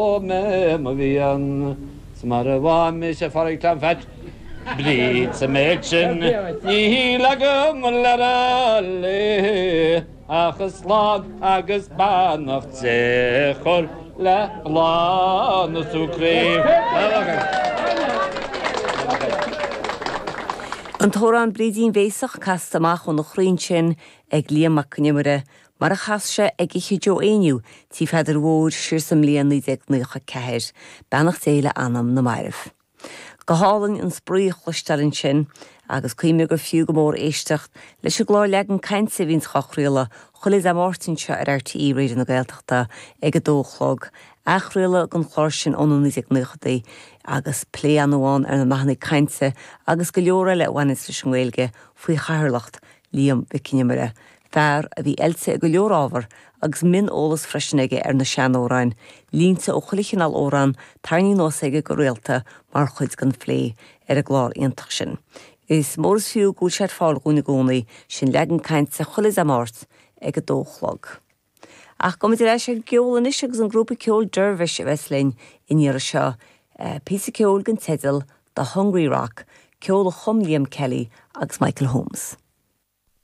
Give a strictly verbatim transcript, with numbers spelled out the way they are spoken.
Mé mo mhian 's mara bhfaighidh mise Phádraig Tom Pheait Bríd sa méid sin níl agam le rá léi ach slán agus beannacht Dé a chur le bláth na socraí. An t-amhrán Brídín Bhéasach casta amach óna chroí ansin ag Liam Mac Con Iomaire, mar a chas sé ag Oíche Joe Éinniú, Tí Pheadair Mhóir siar sa mbliain naoi déag naocha ceathair. Beannacht Dé le anam na mairbh. Go hálainn an spraoi a chloisteáil ansin agus cuimhnigh gur fiú go mór éisteacht leis an gclár Leagan Cainte a bhíonns dhá chraoladh chuile Dé Máirt anseo ar RTÉ Raidió na Gaeltachta ag a dó a chlog. Athchraoladh den chlár sin ó na naoi déag naochadaí agus plé an-mhaith ann ar na nathanna cainte agus go leor eile a bhaineanns leis an nGaeilge faoi chathaoirleacht Liam Mhic Con Iomaire, fear a bhí oilte i go leor ábhar agus mion-eolas freisin aige ar na seanamhráin, línte ó chuile chineál amhrán tarraingthe anuas aige go rialta mar chuid den phlé ar an gclár iontach sin. Is mór is fiú go bhfuil sé ar fáil dhúinn i gcónaí, sin Leagan Cainte chuile Dé Máirt ag a dó a chlog. Ach gabhfaimid ar ais ag an gceol anois agus an grúpa ceoil Dervish a bheas linn an iarraidh seo, píosa ceoil den teideal The Hungry Rock, ceol a chum Liam Kelly agus Michael Holmes.